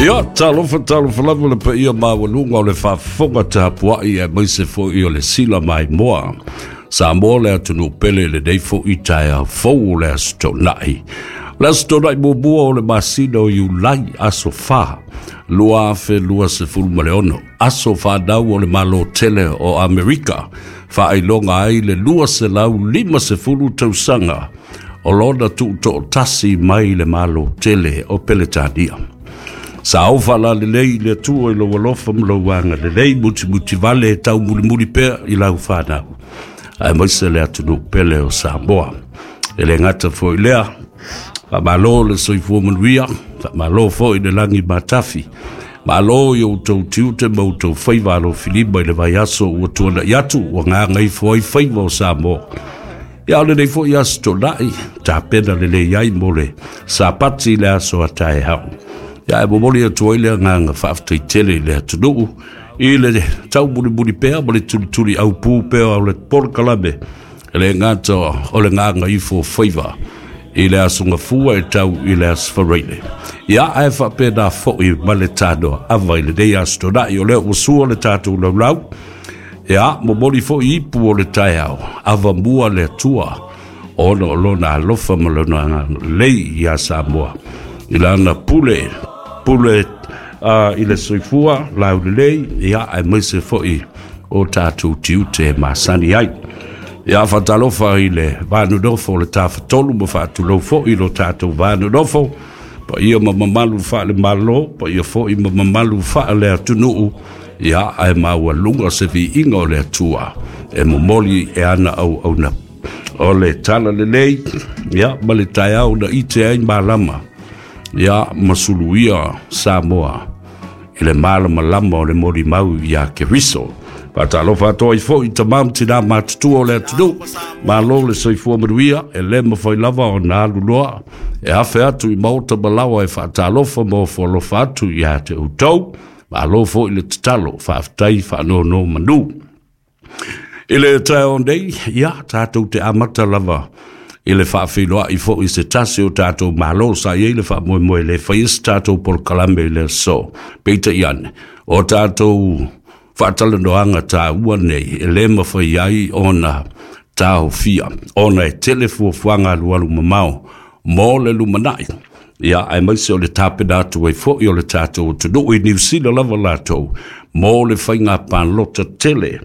Ia, talofa, talofa lava le paia maualuga o le faafofoga tapuai aemaise foi o le sila maimoa. Samoa le atunuu pele i lenei foi taeao fou o le Aso Toonai. O le Aso Toonai muamua o le masina o Iulai, aso 4, 2026, aso fanau o le Malo tele o Amerika, faailoga ai le 250 tausaga o lona tuutoatasi mai le Malo tele o Peretania. Sa ofa lalelei i le Atua i lou alofa ma lou agalelei, mutimutivale e taumulimuli pea i lau fanau, aemaise le atunuu pele o Samoa. E le gata foi lea, faamalo le soifua manuia, faamalo foi le lagi matafi, malo i outou tiute ma outou faiva alofilima i le vaiaso ua tuanai atu, ua gagaifo ai faiva o Samoa. Ia, o lenei foi Aso Toonai, tapena lelei ai mo le Sapati i le aso a taeao. Ia, e momoli atu ai le agaga faafetai tele i le atunuu i le taumulimuli pea ma le tulituli aupū pea o le polokalame, e le gata o le gagaifo o faiva i le Aso Gafua e tau i le Aso Faraile. Ia, ae faapena foi ma le tanoa ava i lenei Aso Toonai, o lea ua sua le tatou laulau. Ia, momoli foi ipu o le taeao, ava mua le Atua, ona o lona alofa ma lona agalelei iā Samoa, i lana pule, pule i le soifua laulelei, ia, aemaise foi o tatou tiute e masani ai. Ia, faatalofa i le vanonofo o le Tafatolu ma faatulou foi i lo tatou vanonofo, paia ma mamalu faale-Malo, paia foi ma mamalu faale-atunuu, ia, ae maualuga se viiga o le Atua e momoli e ana auauna o le tala lelei, ia, ma le taeao na ite ai malama, ia, ma suluia Samoa i le malamalama o le molimau iā Keriso. Faatalofa atu ai foi i tamā ma tinā matutua o le atunuu, malo le soifua manuia, e le mafai lava ona alu loa e afe atu i maota ma laoa e faatalofa ma ofo alofa atu iā te outou. Malo foi le tatalo, faafetai faanonomanu. I le taeao nei, ia, tatou te amata lava i le faafeiloai foi i se tasi o tatou malo sa i ai le faamoemoe le faia se tatou polokalame i le aso. Peitai ane, o tatou faatalanoaga taua nei e le mafai ai ona taofia, ona e tele fuafuaga alualu mamao mo le lumanai, ia, aemaise o le tapena atu ai foi o le tatou atunuu i Niu Sila lava latou mo le faiga palota tele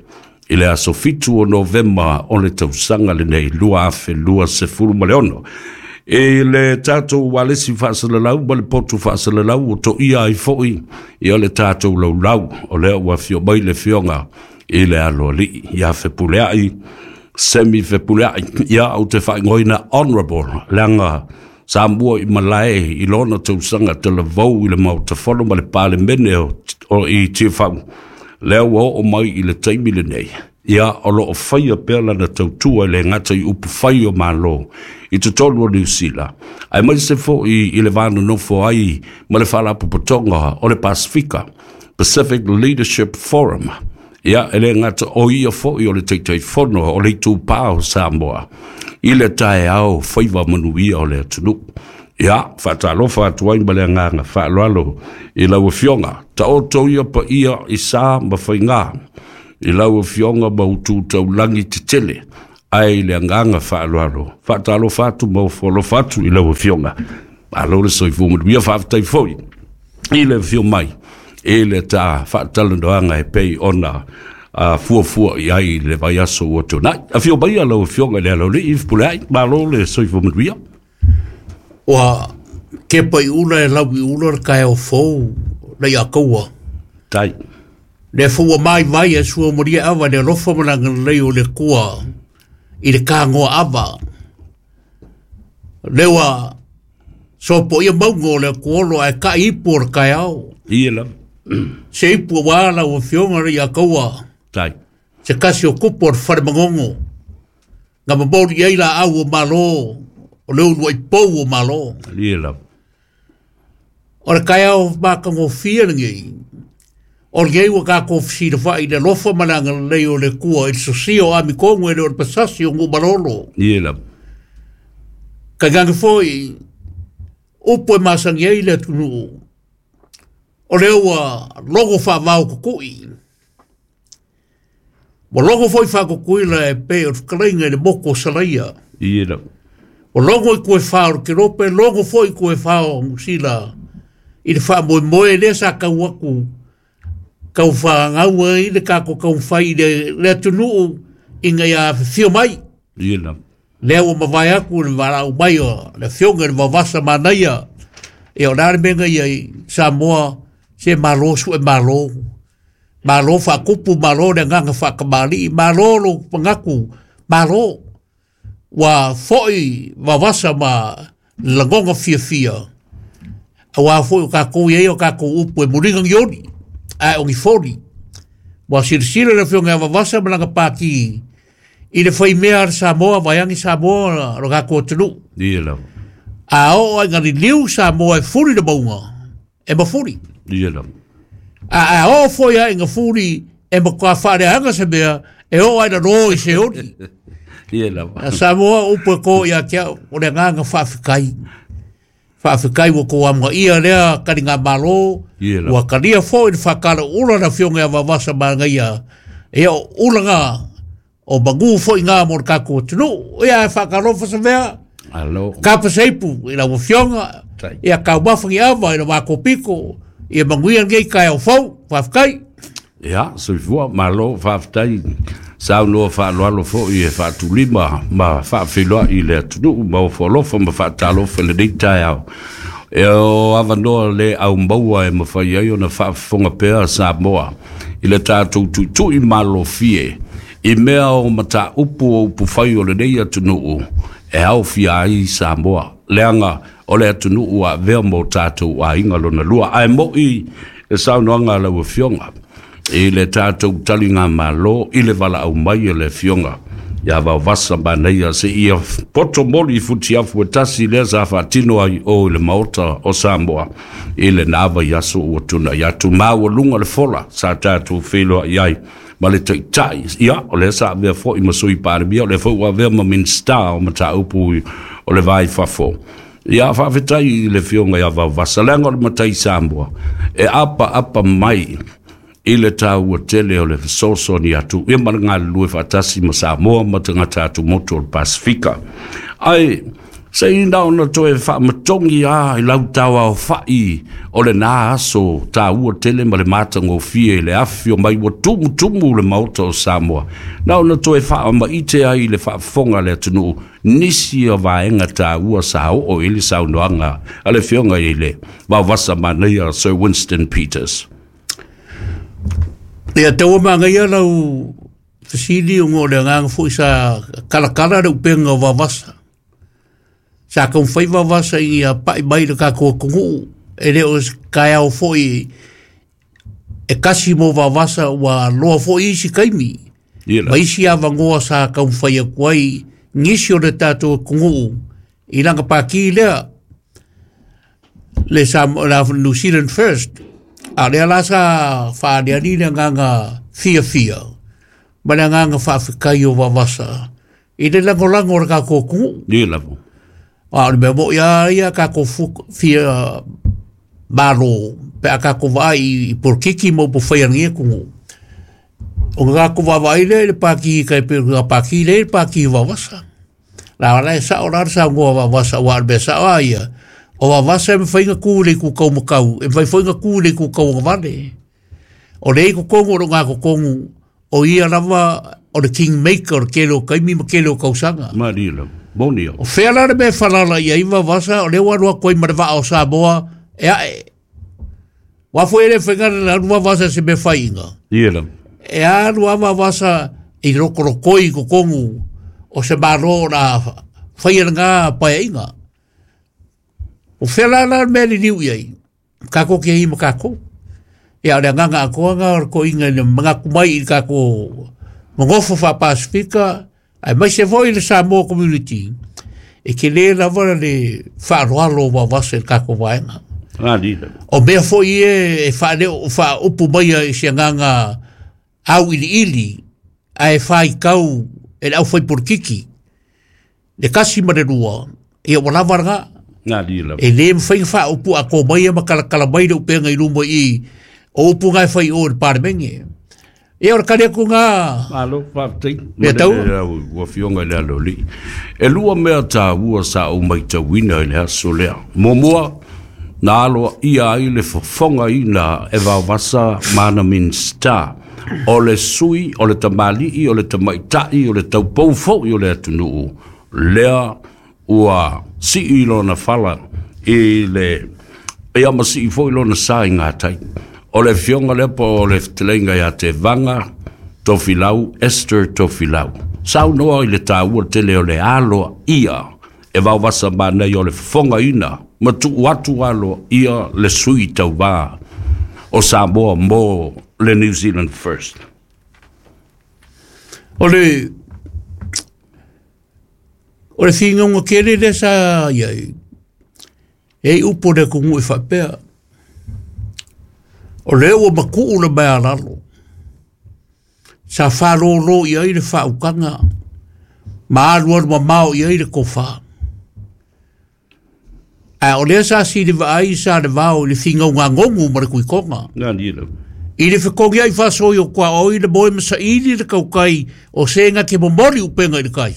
i le aso 7 o Novema o le tausaga lenei 2026. I le tatou ualesi faasalalau ma le potu faasalalau ua toia ai foi ia le tatou laulau, o lea ua afio mai le afioga i le aloalii ia Fepuleai, Semi Fepuleai, ia ou te faaigoaina Honorable, leaga sa mua i malae i lona tausaga talavou i le Maota Fono ma le Palemene o i Tiafau, lea ua oo mai i le taimi lenei, ia o lo o faia pea lana tautua i le gata i upu fai o Malo i totonu o Niu Sila, aemaise foi i le va nonofo ai ma le Faalapotopotoga o le Pasefika, Pacific Leadership Forum. Ia, e le gata o ia foi o le Taitaifono o le Itupa o Samoa i le taeao faiva manuia o le atunuu. Ia, faatalofa atu ai ma le agaga faaaloalo i lau Afioga. Taoto ia paia i sa ma faigā i lau Afioga ma utu taulagi tetele, ae i le agaga faaaloalo, faatalofa atu ma ofo alofa atu i lau Afioga. Malo le soifua manuia, faafetai foi i le afio mai i le ta faatalanoaga e pei ona fuafua i ai le vaiaso ua tuanai. Afio mai lau Afioga i le Aloalii Fepuleai, malo le soifua manuia. Ua kepa i ula e lau i ula le taeao fou na ia kaua. Tai. Le fua mai vai e sua maria ava le alofa ma le agalelei o le Atua i le kāgoa ava. Le ua sopo ia mauga o le atuolo ae kai ipu o le taeao. Ia lava. Se ipu ua lau afioga le ia kaua. Tai. Se kasi o kupu o le whare mangongo. Nga mamori ai la au o malo, o le ulu ai pou o malo. Ia lava. O le taeao matagofie lenei, o lenei ua tatou fesilafai i le alofa ma le agalelei o le Atua i le sosia o Amitogu e le o le pasasi o Nuumalolo. Ia lava. Tainane foi, upu e masani ai le atunuu, O lea ua logo faavao kukui. Ua logo foi faakukuila e pei o le fetalaiga i le moku o Salaia. Ie lava. Ua logo i kuefā o le Kerope, logo foi i kuefā o Niu Sila i le faamoemoe lea sa tau atu tau fagau ai le tatou taumafai i le atunuu ina ia afifio mai. Ie lava. Lea ua mavae atu le valaau mai o le afioga i le Vaovasa Manaia. Ia o le a le mea na ia i Samoa, se malo sue malo. Malo faatupu, malo le agaga faatamalii, malo lou manatu, malo. Ua foi Vaovasa ma lagona fiafia, aua foi o tatou i ai o tatou upu e muliga ni oli, ae o ni foli. Ua silasila le afioga ia Vaovasa ma lana pati i le faimea a le Samoa, vaeane Samoa lo tatou atunuu. Ie lava. A oo ai ina liliu Samoa e fuli le mauga, e mafuli. Ie lava. A oo foi a ina fuli e matua faaleaga se mea, e oo ai lalo i se oli. Ie lava. A Samoa upu e kō ia te au, o le agaga faafetai. Faafetai ua tou amanaia lea taligamalo, Ie lava. ua talia foi le faatalaula le afioga ia Vaovasa Manaia. Ia o ulaga o manu foi ngā mo le tatou atunuu. Ia e faatalofa se mea, Alo. kapa seipu i lau afioga, Tai. ia taumafa ni ava i le matou pito, ia manuia lenei taeao fou. Faafetai. Ia, soifua, malo, faafetai. Saunoa faaaloalo foi e faatulima ma faafeiloai i le atunuu ma ofo alofa ma faatalofa i lenei taeao. E o avanoa le au maua e mafai ai ona faafofoga pea Samoa i le tatou tuitui malofie i mea o mataupu o upufai o lenei atunuu e aofia ai Samoa. Leaga o le atunuu a avea mo tatou aiga lona lua. Ae moi le saunoaga a lau afioga i le tatou taligamalo i le valaau mai o le afioga ia Vaovasa Manaia se ia poto moli i futiafu e tasi lea sa faatino ai o i le maota o Samoa i le na vaiaso ua tunai atu maualuga le fola sa tatou feiloai ai ma le taitai. Ia, o lea sa avea foi ma sui palemia, o lea foi ua avea ma Minista o mataupu o le vai fafo. Ia, faafetai i le afioga ia Vaovasa, leaga o le matai Samoa e apaapa mai i le taua tele o le fesoasoani atu ia ma le galulue faatasi ma Samoa ma tagata atumotu o le Pasifika. Ae se i na ona toe faamatogi a i lau tauaofa'i o lena aso taua tele ma le matagofie i le afifio mai ua tumutumu le maota o Samoa, na ona toe faamaite ai i le faafofoga a le atunuu nisi o vaega taua sa oo i le saunoaga a le afioga i le Vaovasa Manaia Sir Winston Peters. Ia taua magaia lau fesili ona o le agaga foi sa kalakala le upega o Vaovasa. Sa taumafai Vaovasa ina ia pai mai le tatou atunuu, e le o se taeao foi e kasi mo Vaovasa, ua loa foi isi taimi. Ie Ma lava. isi avanoa sa taumafai atu ai nisi o le tatou atunuu i lana pati lea, le la New Zealand First. A lea la sa faaleali le agaga fiafia ma le agaga faafetai o Vaovasa i le lagolago o le tatou atunuu. Ie lava. A o le mea moi lava ia tatou fia malo pe a tatou vaai i polokiki ma upufai a lenei atunuu. O le tatou vaavaai lea i le pati tai pei o le pati lea i le pati o Vaovasa. La la e sao la le saunoa Vaovasa, aua o le mea sao lava ia, o Vaovasa e mafai ona tu i le itu taumatau, e mafai foi ona tu i le itu tauagavale. O lea i totonu o le ogatotonu, o ia lava o le kingmaker o le tele o taimi ma tele o tausaga. Malie lava. Moni au. O fea la le mea e falala i ai Vaovasa, o lea ua alu atu ai ma le vaa o Samoa e ae. Ua foi e le faiga le alu Vaovasa se mea faiga. Ie lava. E alu lava Vaovasa i lokolokoi i totonu o se malo o la faia lena paeaiga. O fea la la le mea liliu i ai, tatou te i ma tatou. Ia o le agaga atoa na o le toeaina i le manatu mai i le tatou nonofo faa-Pasifika, aemaise foi le Samoa Community, e tele lava le faaaloalo o Vaovasa i le tatou vaega. Malie lava. O mea foi ia e faaleo faaupu mai i se agaga auiliili ae faitau e le aufaipolitiki le tasi ma le lua, ia ua lava lena. E lē mafai ona faaupu atoa mai ma kalakala mai le upega i luma i i o upu na e fai i o i le Palemene. Ia o le tali atu lena. Malo faafetai. Mea taua. Lau Afioga i le Aloalii. E lua mea taua sa ou matauina i le aso lea. Muamua, na aloaia ai le fofogaina e Vaovasa ma ana Minisita o le sui o le tamalii o le tamaitai o le taupou foi o le atunuu lea ua sii lona fala i le ia ma sii foi lona sa i gatai. O le afioga lea po o le fetalaiga ia Tevaga Tofilau, Esther Tofilau. Saunoa i le taua tele o le aloaia e Vaovasa Manaia o le fofogaina ma tuu atu aloaia le sui tauva o Samoa mo le New Zealand First. O le O le finauga tele lea sa i ai, e i ai upu a le atunuu e faapea, o lea ua matuu le maea lalo, sa faalolo i ai le faautaga ma alualu mamao i ai le tofa. A o lea sa sili vaai Salevao i le finauga gonu ma le Tuitoga. I le fetogiai faasoi o tuaoi le moe ma saili le tautai o se na te momoli upega i le tai.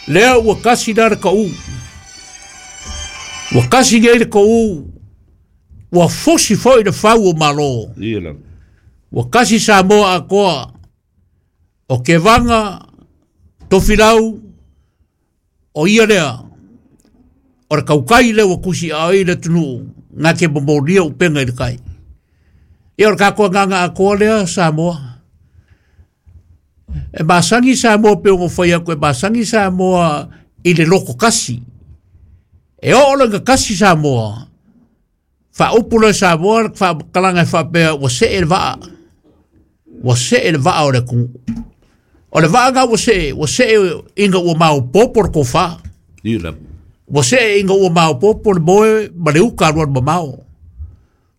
Lea ua kasi la le taʻu. Ua kasi nei le taʻu, ua fosi foi le fau o Malo. Ua kasi Samoa atoa, o Kevaga, Tofilau, o ia lea, o le tautai lea ua tusi ai le atunuu na te momolia upega i le tai. Ia o le tatou agaga atoa lea Samoa. E masani Samoa pei ona fai atu e masani Samoa i le loto kasi. E oo loa ina kasi Samoa, faaupu loa e Samoa le faamatalaga e faapea ua see le vaa, ua see le vaa o le atunuu. O le vaa lena ua see, ua see ina ua maopoopo le tofa. Ua see ina ua maopoopo le moe ma le uta alualu mamao.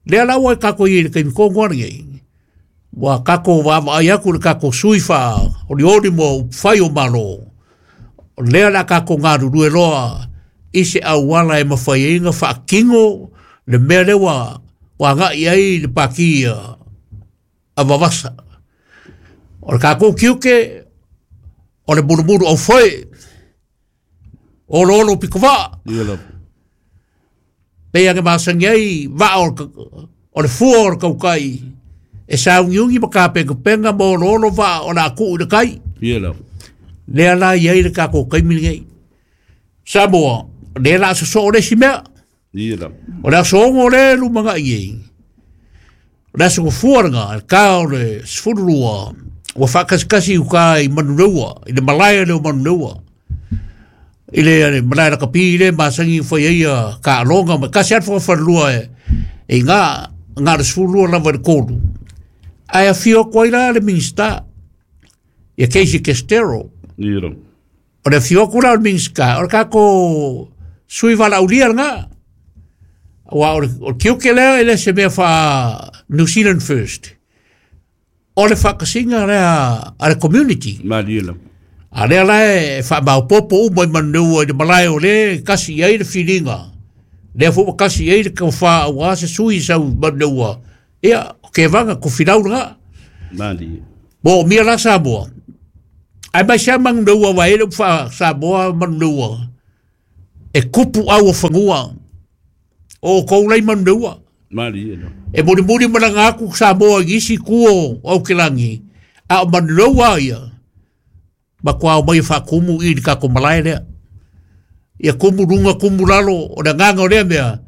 Lea la ua tatou i ai i le taimi tonu lava lenei, ua tatou vaavaai atu i le tatou sui faaolioli mo upufai o Malo, o lea o le a tatou galulue loa i se auala e mafai ai ona faatino le mea lea ua agai i ai le Pati a Vavasa. O le tatou tiute, o le mulumulu aufoe, oloolo pitovaa. Pei ona masani ai vaa o le fua o le tautai e sauniuni ma tapenapena ma oloolo vaa o le a tuu i le tai. Lea la e i ai le tatou taimi lenei. Samoa, o lea o le a sosoo le isi mea. O le aso 6 lea e lumanai ai, o le aso gafua lena, le ta o le 12, ua faakasikasi i uta i Manureua, i le malae lea o Manureua. I le malae lakapi lea e masani ona fai ai taaloga ma e tasi lava le fogafalelua e i ina, na o le 12 lava i le 3. Ae afio atu ai la le Minisita, ia Casey Castero. O le afio atu la o le Minisita, o le tatou sui valaaulia lena. Aua o le tiute lea e le se mea faa New Zealand First. O le faatasiga lea a le community. Malie lava. A lea la e faamaopoopo uma i Manureua i le malae o lea e kasi i ai le filiga. Lea foi ua kasi i ai le tofa aua se sui sau i Manureua. Ia, o Kevaga, Tofilau lena. Malie. Moomia la Samoa. Ae mai sea Manureua aua e i ai le upu faa-Samoa Manureua, e tupu au o fanua. O outou la i Manureua. Malie lava. E mulimuli malaga atu Samoa i nisi itu o Aukilagi, a o Manureua ia, matua omai e faatumu i le tatou malae lea. Ia tumu luga, tumu lalo, o le agaga o lea mea,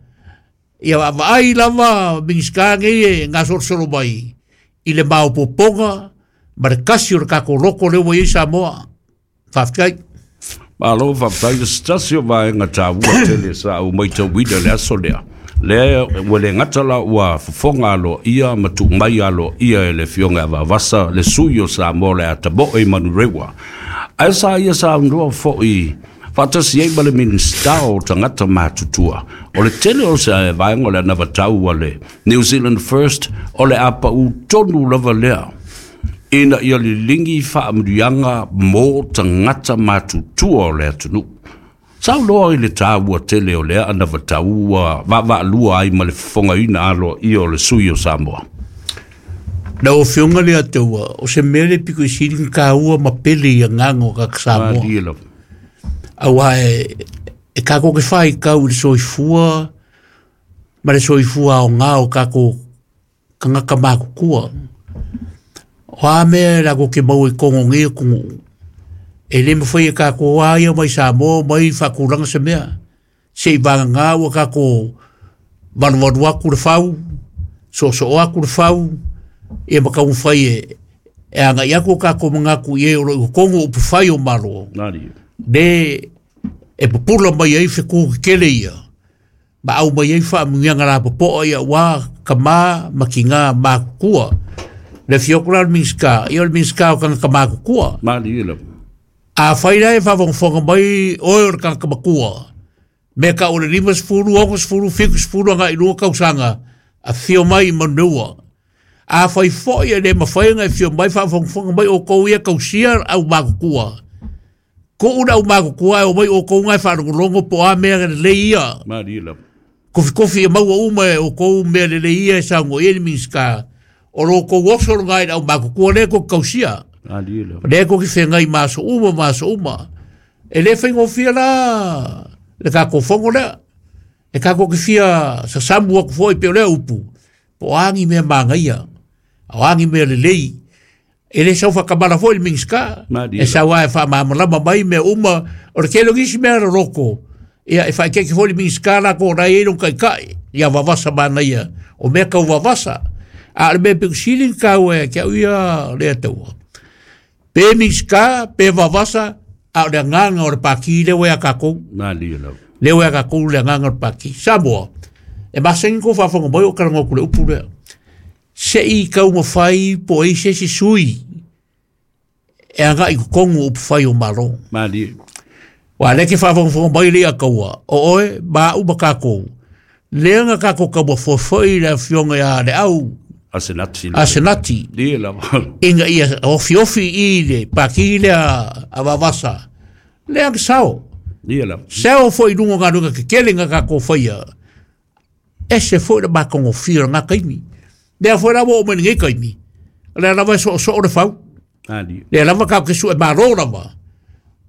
ia vaavaai lava Minisita nei e gasolosolo mai i le maopoopoga ma le kasi o le tatou loto lea ua i ai Samoa. Faafetai. Malo faafetai. O se tasi o vaega taua tele sa ou matauina i le aso lea, lea ua le gata la ua fofoga aloaia ma tuu mai aloaia e le Afioga ia Vaavasa le sui o Samoa o le a tamoe i Manurewa, ae sa ia saunoa foi faatasi ai ma le Minisita o Tagata Matutua. O le tele o se vaega o le anavatau a le New Zealand First o le a pau tonu lava lea ina ia liligi faamanuiaga mo tagata matutua o le atunuu. Saunoa i le tāua tele o lea anavatau ua vaavaalua ai ma le fofogaina aloaia o le sui o Samoa. Lau Afioga le Ataua, o se mea le piko i sili na tāua ma pele i agaga o kaka Samoa. Malie lava. Auā e kākou ke faitau i le soifua ma le soifua aoga o kākou tagata matutua. O a mea e latou te maua i totonu o nei atunuu, e le mafai e kākou a ia mai Samoa mai faatulaga se mea. Se i vagana ua kākou valuvalu atu le fau, soosoo atu le fau, ia ma taumafai e agai atu o kākou manatu i e o lo o i totonu o upufai o Malo, Malie. le e pupula mai ai fetu tetele ia, ma au mai ai faamuiaga lapopoa ia ua kamā ma tigā matutua. Le afio atu la o le Minisita, ia o le Minisita o tagata matutua. Malie lava. Afai la e faafogafoga mai oe o le tagata matua, me tau o le 50, 60, 70 agai i luga tausaga, afio mai i Manuneua. Afai foi e le mafai ona e afio mai faafogafoga mai outou ia tausia au matutua, tuu le au matutua e omai outou na e faalogologo po o a mea lelei ia. Malie lava. Kofikofi e maua uma e outou mea lelei ia e saunoa i ai le Minisita, o lo outou oso lena i le au matutua lea e tou te tausia. Malie lava. Lea e tou te feagai ma aso uma ma aso uma. E le faigofie la le tatou fono lea. E tatou te fia sasamu atu foi pei o lea upu, po o a ni mea manaia, o a ni mea lelei. E le sau faatamala foi le Minisita, Malie e sau lava e faamalamalama mai mea uma. O le tele o nisi mea loloto, ia e faaeteete foi le Minisita latou o la e i ai lona taitai, ia vavasa manaia o mea tau vavasa. A o le mea pito sili ona taua ia te au ia lea taua, pe Minisita, pe vavasa, a o le agaga o le Pati lea ua ia tatou. Malie lava. Lea ua ia tatou le agaga o le Pati. Samoa, e masani ona tou faafofoga mai o talanoa atu i le upu lea. Se i taumafai po o i ai se isi sui e agai i totonu o upufai o Malo. Malie. Aua o lea e te faafogafoga mai le Ataua, o oe ma au ma tatou, lea na tatou taumafoe foi i le afioga ia Leau Asenati. Asenati, Malie lava. ina ia ofiofi i le pati lea a Vavasa, lea na sao. Malie lava. Sao foi i luga o galuega tetele na tatou faia, ese foi le matagofie o lena taimi. Lea foi la ua oo mai lenei taimi, o lea lava e soosoo le fau, Malie. lea lava tatou te sue malo lava.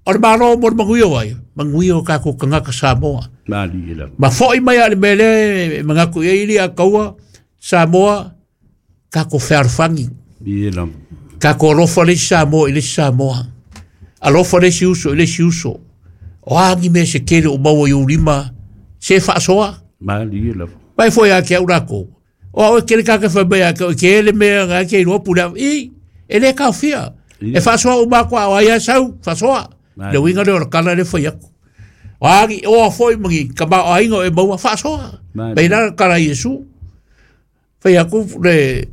O le malo mo le manuia o ai? Manuia o tatou tagata Samoa. Malie lava. Ma foi mai lava i le mea lea e manatu i ai alii Ataua, Samoa, tatou fealofani. Malie lava. Tatou alofa le isi Samoa i le isi Samoa. Alofa le isi uso i le isi uso. O a ni mea se tele o maua i ou lima, se faasoa. Malie lava. Mai foi ia te au latou. O au e kele kaka fai mai ia te au, e kele mea nga ke iloa pule au. I, e le kaofia. E faasoa uma atu a o ai a sau, faasoa. Malie. Le uiga lea o le tala lea fai atu. O a ni oa foi ma ni tamaoaiga o e maua, faasoa. Malie. Mai la le tala a Iesu. Fai atu le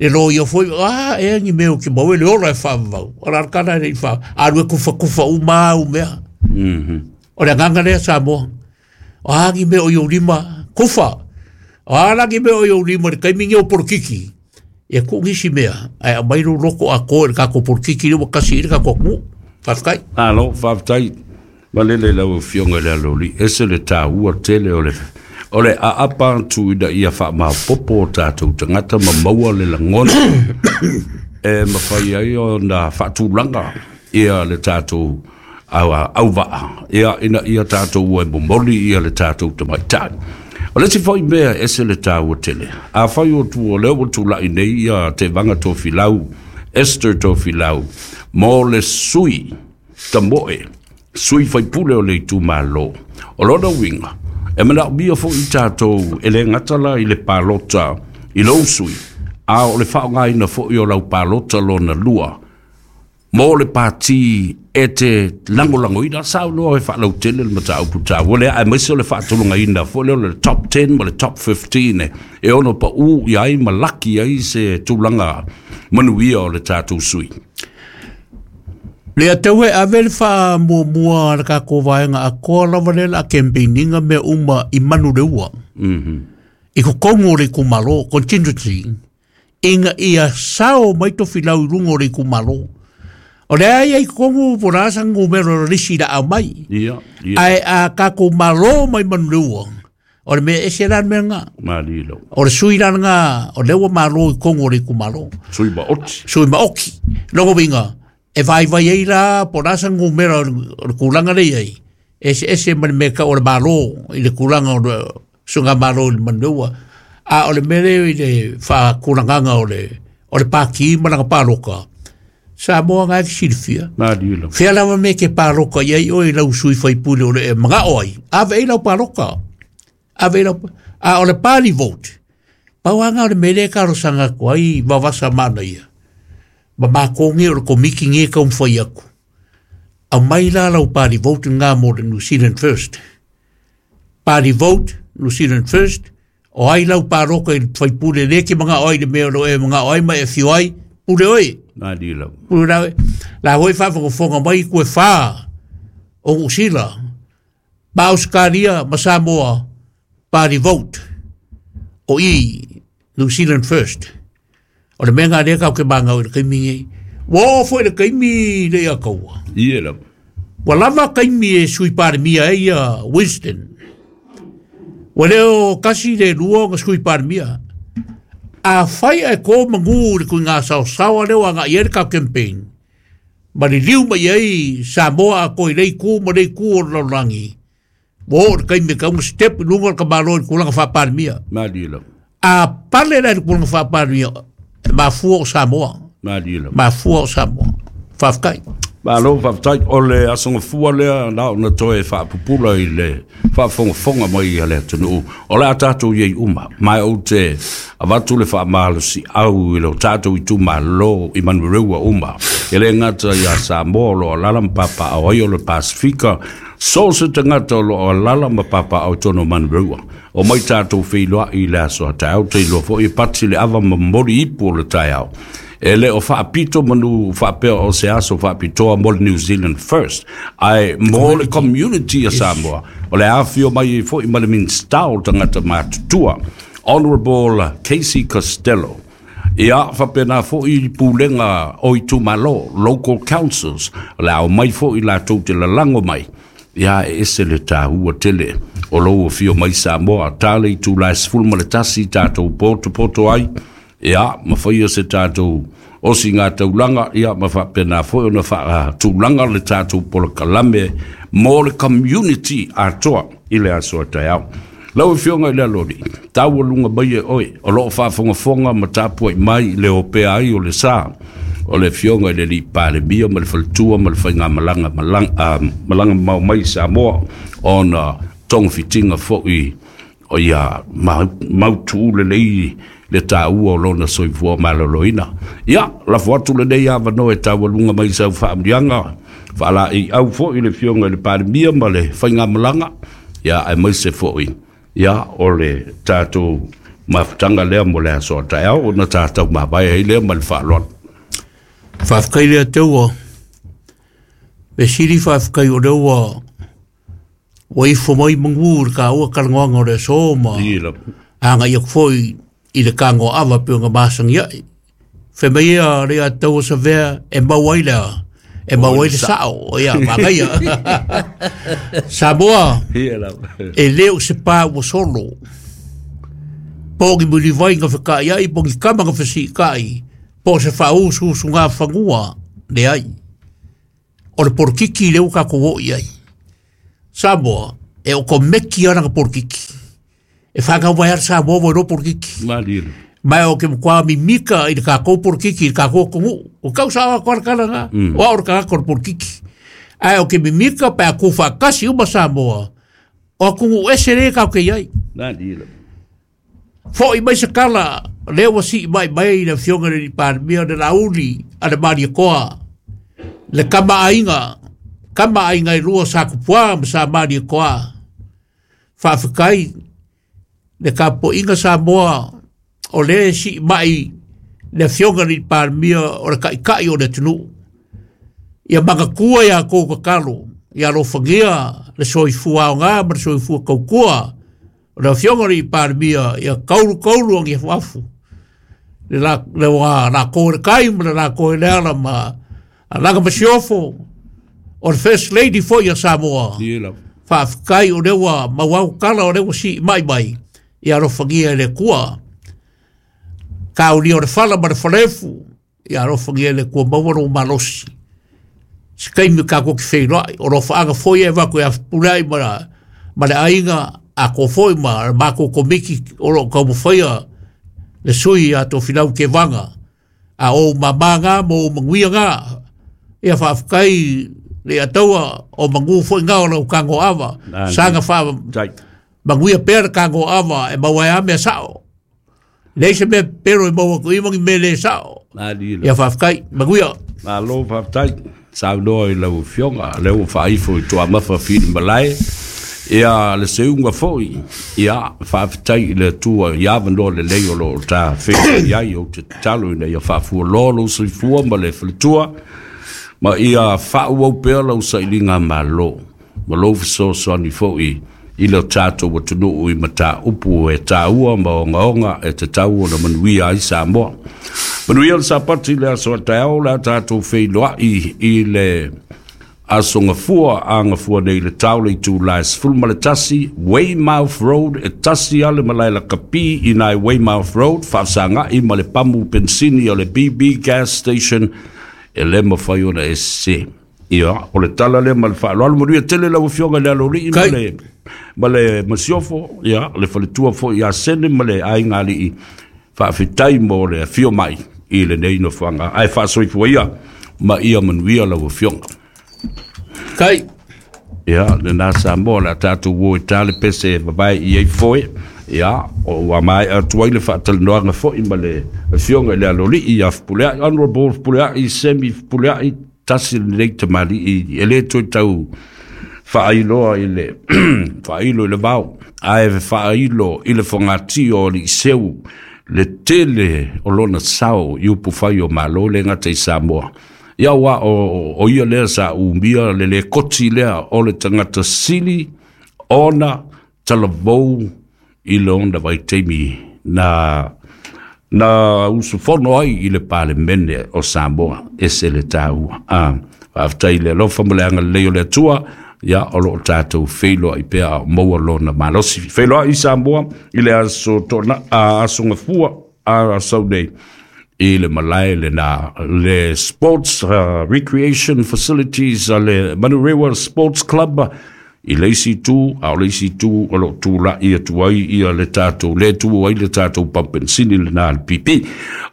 loia foi, a ea ni mea o te maua e le ola e faavavau. O la le tala e le i faa, alu e kufakufa uma au mea. O le agaga lea Samoa. O a ni mea o i ou lima, kufa. O a la ni mea o i ou lima i le taimi ni o polokiki. Ia tuu nisi mea, ae aumai lou loto atoa i le tatou polokiki lea ua tasi i le tatou atunuu. Faafetai. Malo, faafetai. Malele lau afioga i le Aloalii, ese le taua tele o le o le aapa atu ina ia faamaopoopo o tatou tagata ma maua le lagona e mafai ai ona faatulaga ia le tatou auvaa ia ina ia tatou e momoli ia le tatou tamaitai. O le isi foi mea e ese le taua tele, afai o tu o lea ua tulai nei ia Tevaga Tofilau, Esther Tofilau, mo le sui tamoe, sui faipule o le itumalo. O lona uiga, e manaomia foi tatou e le gata la i le palota i lou sui, a o le faaaogaina foi o lau palota lona lua mo le pati e te lagolagoina. Saunoa e faalautele le mataupu taua lea, aemaise o le faatulagaina foi lea o le top 10 ma le top 15 e ono pau i ai ma laki ai se tulaga manuia o le tatou sui. Le ataua e ave le faamuamua a le tatou vaega atoa lava lea o le a campaign-ina mea uma i Manuleua. I totonu o le itumalo, contingency, ina ia sao mai Tofilau i luga o le itumalo. O le ai ai kongu po la sa ngumero risi la au mai. Ia, ia. Ai a kako malo mai manua. O le mea ese la mea ngā. Malilo. O le sui la ngā, o le ua malo i kongo le ku malo. Sui ma oti. Sui ma oki. Longo winga, e vai vai ei la, po la sa ngumero o le kulanga le ai. Ese ese ma le mea ka o le malo i le kulanga o le sunga malo i le manua. A o le mele i le whakulanganga o le pāki ma langa pāloka. Samoa ngā ki silfia. Malilo. Whia lawa me ke pāloka iai o i lau sui whaipule o le e mga oi. Ave i lau pāloka. Ave i lau... A o le pāli vote. Pauanga o le mele ka rosanga kua i wawasa mana ia. Ma mākōngi o le komiki nge ka umwhai aku. Au mai la lau pāli vote ngā mō le New Zealand First. Pāli vote, New Zealand First. O ai lau pāloka i whaipule le ki mga oi le mea o e mga oi ma e whio ai. Pule oi. Malilo. Pule la hoi whawhakafonga mai kue whā o Usila. Ma Australia, ma Samoa, party vote. O i New Zealand First. O le mea ngā rea kau ke mangau i le kaimi ngei. Wā fo i le kaimi le ia kaua. Ie la. Wa lava kaimi e sui parimia e ia Winston. Wa leo kasi le lua nga sui parimia. A whai e kō mangu le kui ngā sao sawa leo a ngā ia le kau campaign. Ma li liu mai ei Samoa a koi lei kū ma lei kū o laurangi. Wā o le kaimi ka unga step lunga le kamalo i le kulanga whaparimia. Malilo. A pale la i le kulanga whaparimia. Mafua o Samoa. Malilo. Mafua o Samoa. Whawhakai. Malo whawhatai o le asonga fua lea na ona toe whaapupula i le whaafongafonga mai i le atunuu. O le a tātou iei uma. Mai o te avatu le whaamalosi au i le o tātou i tūmalo i manureua uma. E le ngata i a Samoa lo alala mpapa au ai o le Pasifika. So se te ngata o lo alala mpapa au tono manureua. O mai tātou whiloa i le aso a taau te iloa fo i pati le ava mamori ipu o le taiao. E le o whaapito manu whaapea o se aso whaapitoa mo le New Zealand First. Ai mo le community a Samoa. O le awhio mai e fo i male minstao tangata mātutua. Honorable Casey Costello. Ia whapena fo i pūlenga o i tūmalo, local councils. O le au mai fo i la tau te lalango mai. Ia e ese le tāhua tele. O lau o whio mai Samoa. Tāle i tū lai sfulma le tasi tātou poto poto ai. Ia, ma whaia se tātou osi ngā taulanga, ia, ma whapena foi ona wha tūlanga le tātou pola kalame mō le community atoa i le asoa tai au. Lau e whionga i le alori, tāua lunga mai e oi, o loo whaafongafonga ma tāpua i mai le opea ai o le sā, o le whionga i le li palemia ma le whalatua ma le whainga malanga, malanga mau mai Samoa, ona tongfitinga foi o ia mautu le lei le tāua o lona soifua maloloina. Ia, la fuatu le nei awano e tāua lunga mai sau whaamrianga, whaala i au foi le whionga i le palemia ma le whainga malanga, ia, e mai se foi, ia, o le tātou mafutanga lea mo le asoa taeao, o na tātou mawai hei lea ma le whaaloa. Whawhakai lea teua, me siri whawhakai o leua, wa ifo mai mangu le ka ua kalangoanga o le aso ma, anga ia foi i le kango awa pe nga masangi ai. Fe mai ia le a tau sa vea e mau ai lea. E mau ai le sao. Ia, magaia. Samoa, e leo se pā ua solo. Pōngi muli vai nga whakai ai, pōngi kama nga whasikai. Pō se whaosu su ngā whangua le ai. O le porkiki leo ka ko i ai. Samoa, e o ko meki ana nga porkiki. E whakau mai ara Samoa mo ro porkiki. Malilo. Mai o ke mkwa mimika i le kākou porkiki, i le kākou kongu. O kau sawa koara kala ngā, o aura kākou porkiki. Ai o ke mimika pe a kō whakasi uma Samoa. O kongu ese re kau ke iai. Malilo. Fo i mai se kala, leo si mai mai le fionga le parimia le lauli a le maria koa. Le kama ainga i lua sa kupua ma sa maria koa. Whawhikai, le kapo inga Samoa o le si mai le fionga le parimia o le kaikai o le tunu. Ia makakua ia kou kakalo, ia alofagia le soifua o ngā ma le soifua kaukua. O le fionga le parimia ia kaulu kaulu angi afu. Le la le wa la ko le kai ma le la ko le ala ma Alaga Masiofo, o le First Lady foi ia Samoa. Faafetai o lea ua mauau tala o lea ua sii mai mai, ia alofagia e le Atua. Kaulia o le fala ma le falefu, ia alofagia e le Atua maua lou malosi. Se taimi tatou te feiloai, o lofaaga foi e avatu e Fepuleai ma le aiga a ko foi ma le matou komiti o lo o taumafaia le sui ia Tofilau Tevaga. A o mama ngā mo o manuia ngā, ia faafetai le ataua o manu foi ngā o lau kago ava, saga wha manuia pea le kago ava e maua e a mea sao. Leai se mea pero e maua ku imangi me le sao. Ia faafetai, manuia. Malo faafetai, saunoa i lau afioga, lea ua faaifo i Tuamafa Filimalai. Ia le seuga foi, ia faafetai i le Atua i avanoa lelei o lo o ta feiloai ai, ou te tatalo ina ia faafualoa lou soifua ma le faletua, ma ia faaauau pea lau sailiga malo, ma lou fesoasoani foi i le tatou atunuu i mataupu e taua ma ogaoga e tatau ona manuia ai Samoa. Manuia le Sapati le aso a taeao, le a tatou feiloai i le aso Gafua a Gafua nei le tao le itula e 11, Weymouth Road, e tasi ale malae lakapi i nai Weymouth Road, faafesagai ma le pamu pensini o le BB Gas Station, e le mafai ona e sese. Ia, o le tala lea ma le faaaloalo, manuia tele lau afioga i le Aloalii ma le ma le Masiofo, ia, le faletua foi ia Sene ma le aiga alii, faafetai mo le afio mai i lenei nofoaga, ae faasoifua ia ma ia manuia lau afioga. Kai. Ia, lena Samoa, le a tatou o e ta le pese e vavae i ai foe. Ia, o ua maea atu ai le faatalanoaga foi ma le afioga i le Aloalii ia Fepuleai, Honorable Fepuleai, Semi Fepuleai, tasi lenei tamalii e le toe tau faailoa i le faailo i le vao, ae faailo i le fogatio o Aliiseu le tele o lona sao i upufai o Malo le gata i Samoa. Ia ua o ia lea sa umia le lekoti lea o le tagata sili ona talavou i lona vaitaimi na usufono ai i le Palemene o Samoa, ese le taua. Faafetai i le alofa ma le agalelei o le Atua, ia o lo o tatou feiloai pea o maua lona malosi. Feiloai i Samoa i le aso tona, aso Gafua a sau nei i le malae lena, le Sports Recreation Facilities a le Manurewa Sports Club, i le isi itu, a o le isi itu o lo o tula'i atu ai ia le tatou, le tu ai le tatou pampensini lena le PP.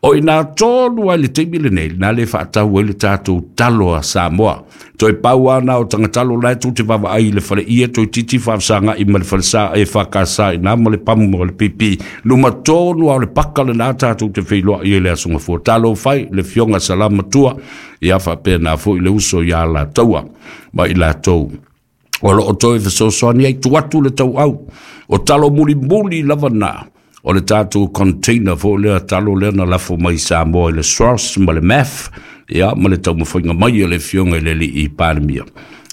O ina tonu ai le taimi lenei, na le faatau ai le tatou talo a Samoa. Toe pau ana o tagatalo la e tu te vavaai i le fale ia toe titi faafesagai ma le falesa e whakasa i nā ma le pamu ma le PP. Luma tonu a o le paka lena tatou te feiloai i le aso Gafua. Talo fai le fioga salama tua, ia faapena foi le uso ia latou ma i latou. O lo o toe fesoasoani ai tu atu le tauau. O talo mulimuli lava na o le tatou container foi lea talo lea na lafo mai Samoa i le SROS ma le MAF, ia ma le taumafaiga mai o le afioga i le alii Palemia.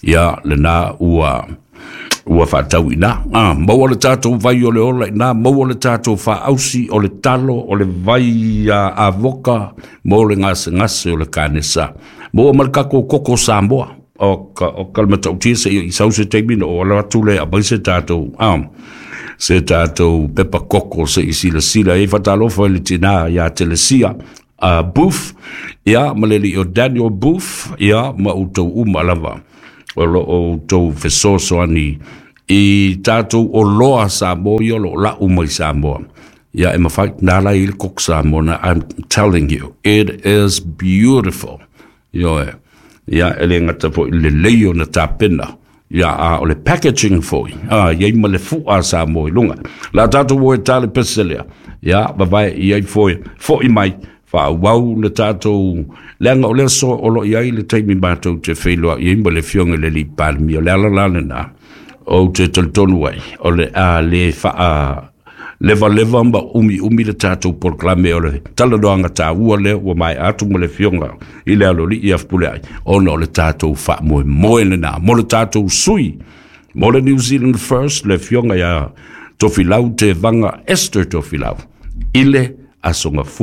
Ia lena ua faatau ina. Maua le tatou vai o le ola ina, maua le tatou faausi o le talo, o le vai avoka, mo le gasegase o le kanesa. Maua ma le tatou koko Samoa. O ka le matautia se i sau se taimi na o ala atu le aumai se tatou se tatou pepa koko se i silasila e fatalofa i le tina ia Telesia Booth, ia ma le alii o Daniel Booth, ia ma outou uma lava o lo o outou fesoasoani i tatou oloa Samoa ia o lo o lau mai Samoa. Ia e mafai nā la i le koko Samoa na, I'm telling you, it is beautiful. Ioe. Ia e le gata foi le lelei ona tapena, ia a o le packaging foi, iai ma le fua Samoa i luga. La tatou o e ta le pese lea, ia vavae i ai foi, foi mai, faaauau le tatou, leaga o le aso o lo o i ai le taimi matou te feiloai ai ma le afioga i le alii Palemia, o le ala la lena, ou te talitonu ai, o le a le faa levaleva ma umi le tatou polokalame o le talanoaga taua lea ua maea atu ma le afioga i le Aloalii ia Fepuleai, ona o le tatou faamoemoe lena mo le tatou sui mo le New Zealand First, le afioga ia Tofilau Tevaga Esther Tofilau i le aso Gafua.